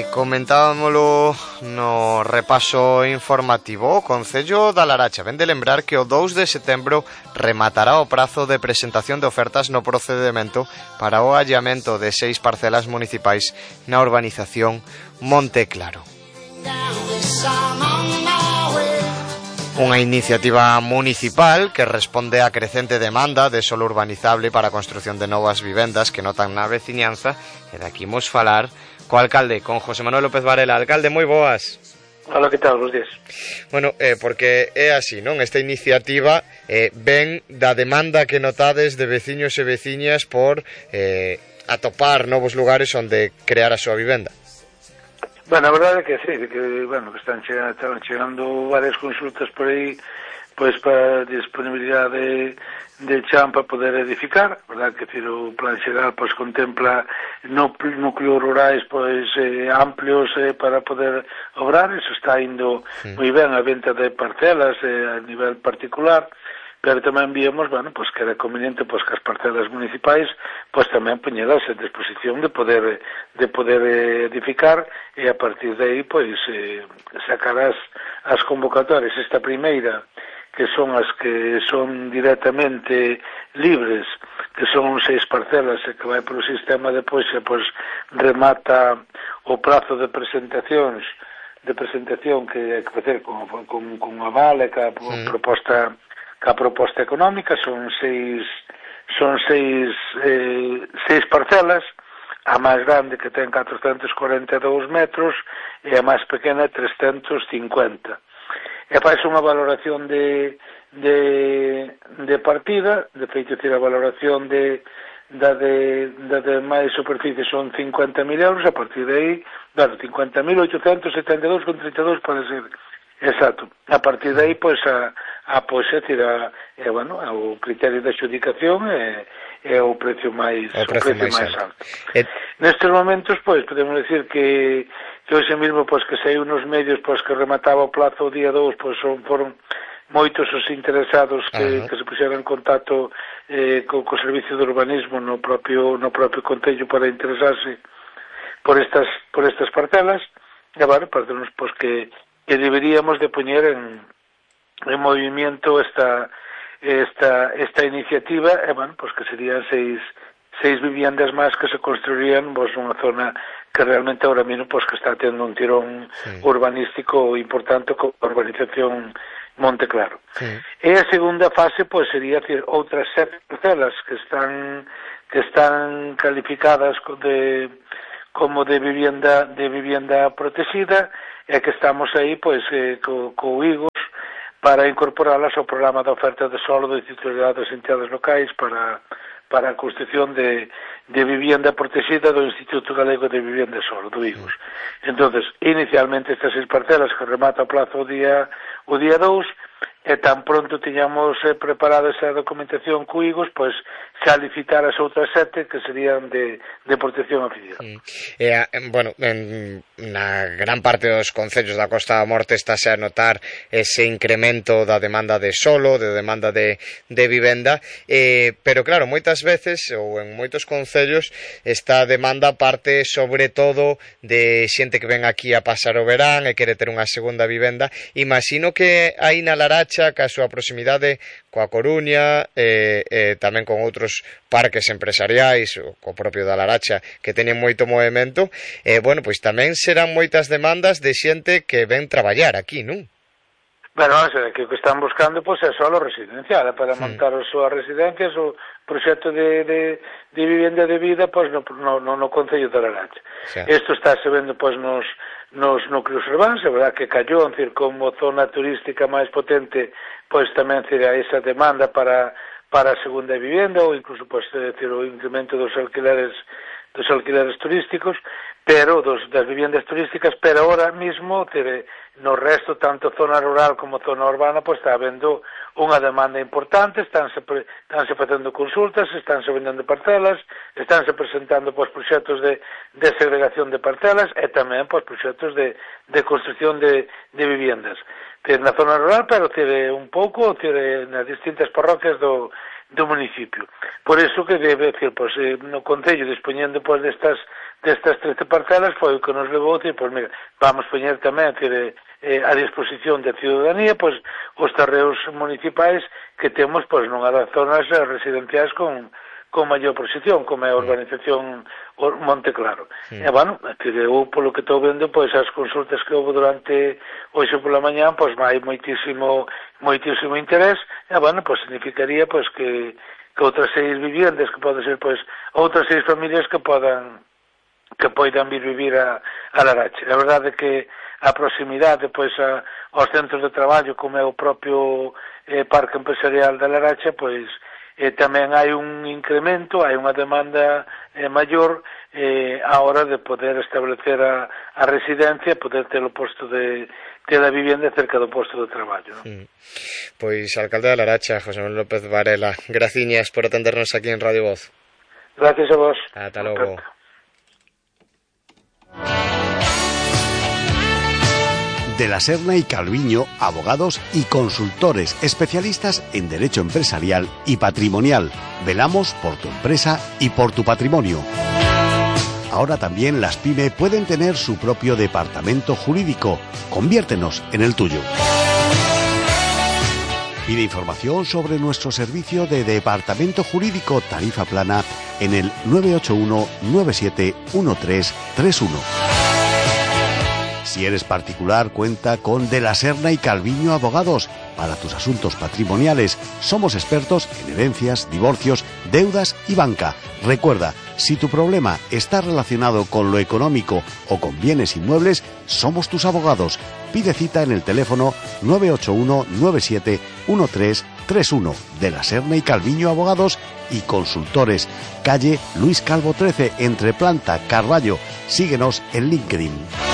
Comentábamolo no repaso informativo. O Concello da Laracha vén de lembrar que o 2 de setembro rematará o prazo de presentación de ofertas no procedemento para o allamento de 6 parcelas municipais na urbanización Monte Claro. Unha iniciativa municipal que responde á crecente demanda de solo urbanizable para a construción de novas vivendas que notan na veciñanza, e daqui imos falar co alcalde, con José Manuel López Varela. Alcalde, moi boas. Hola, que tal? Bos días. Bueno, porque é así, non? Esta iniciativa ven da demanda que notades de veciños e veciñas por atopar novos lugares onde crear a súa vivenda. Bueno, a verdade é que sí, que están chegando varias consultas por aí, pois para disponibilidade de chan para poder edificar, verdad que o plan xeral pois contempla núcleos rurais pois amplios para poder obrar, eso está indo moi ben a venta de parcelas a nivel particular, pero tamén víamos, pois que era conveniente pois que as parcelas municipais pois tamén poñelas en disposición de poder edificar, e a partir de aí pois sacar as convocatorias. Esta primeira, que son as que son directamente libres, que son 6 parcelas e que vai polo sistema de pois remata o prazo de presentación que hai que facer con aval e ca proposta económica. Son seis parcelas, a máis grande que ten 442 metros e a máis pequena 350. E faz unha valoración de partida, de feito, a valoración da de máis superficie son 50.000 euros, a partir de aí, 50.872,32 para ser exacto. A partir de aí, pois, o criterio de adjudicación é o precio máis alto. Nestes momentos, pois, podemos decir que hoxe mesmo, pois, que saiu nos medios, pois, que remataba o plazo o día 2, pois, foron moitos os interesados que se puxeron en contacto co Servicio de Urbanismo no propio Concello para interesarse por estas parcelas, e, parece-nos, pois, que deberíamos de poñer en movimiento esta iniciativa, e, pois, que serían seis viviendas máis que se construirían nunha zona que realmente ahora mesmo que está tendo un tirón urbanístico importante con a urbanización Monte Claro. E a segunda fase sería outras 7 parcelas que están calificadas como de vivienda protegida, e que estamos aí co IGOS para incorporalas ao programa de oferta de solo de titularidade das entidades locais para a construción de vivienda protegida do Instituto Galego de Vivienda Solo, do IGOS. Entonces, inicialmente estas 6 parcelas que remata o plazo o día 2, e tan pronto tiñamos preparada esa documentación co IGOS, pois xa licitar as outras 7 que serían de protección oficial. Na gran parte dos concellos da Costa da Morte estáse a notar ese incremento da demanda de solo, de demanda de vivenda, pero claro, moitas veces, ou en moitos concellos, esta demanda parte sobre todo de xente que ven aquí a pasar o verán e quere ter unha segunda vivenda. Imagino que aí na Laracha, que a súa proximidade coa Coruña, tamén con outros parques empresariais, o co propio da Laracha, que teñen moito movimento, pois tamén serán moitas demandas de xente que ven traballar aquí, non? Que o que están buscando é solo residencial, para montar as súas residencias, o proxecto de vivenda de vida no Concello da Laracha. Isto está se vendo nos núcleos urbanos, é verdad que Callón, como zona turística máis potente, tamén esa demanda para a segunda vivenda, ou incluso o incremento dos alquileres turísticos, pero das viviendas turísticas, pero ahora mismo no resto, tanto zona rural como zona urbana, está habendo unha demanda importante, estánse facendo consultas, estánse vendendo parcelas, estánse presentando proxectos de segregación de parcelas e tamén proxectos de construcción de viviendas. Na zona rural, pero un pouco nas distintas parroquias do municipio. Por iso que debe decir, no Concello, dispoñendo destas destas 13 parcelas foi o que nos levou a decir, pois mira, vamos poñer tamén a disposición da ciudadanía pois os terreos municipais que temos pois nunha das zonas residenciais con maior proxección, como é a urbanización Monte Claro. E, bueno, eu, polo que estou vendo, pois, as consultas que houve durante hoxe pola mañá, pois, hai moitísimo interés, e, bueno, pois, significaría, pois, que outras 6 viviendas, que pode ser, pois, outras 6 familias que poidan vir vivir a Laracha. A verdade é que a proximidade, pois, aos centros de traballo, como é o propio Parque Empresarial da Laracha, pois, tamén hai un incremento, hai unha demanda maior a hora de poder establecer a residencia, poder ter o posto de a vivenda cerca do posto de traballo, non? Pois, alcalde da Laracha, José Manuel López Varela, graciñas por atendernos aquí en Radio Voz. Gracias a vos. Ata logo. De la Serna y Calviño, abogados y consultores especialistas en derecho empresarial y patrimonial. Velamos por tu empresa y por tu patrimonio. Ahora también las PYME pueden tener su propio departamento jurídico. Conviértenos en el tuyo. Pide información sobre nuestro servicio de departamento jurídico tarifa plana en el 981 97 1331. Si eres particular, cuenta con De la Serna y Calviño Abogados. Para tus asuntos patrimoniales, somos expertos en herencias, divorcios, deudas y banca. Recuerda, si tu problema está relacionado con lo económico o con bienes inmuebles, somos tus abogados. Pide cita en el teléfono 981 97 1331. De la Serna y Calviño Abogados y Consultores. Calle Luis Calvo 13, entre Planta, Carballo. Síguenos en LinkedIn.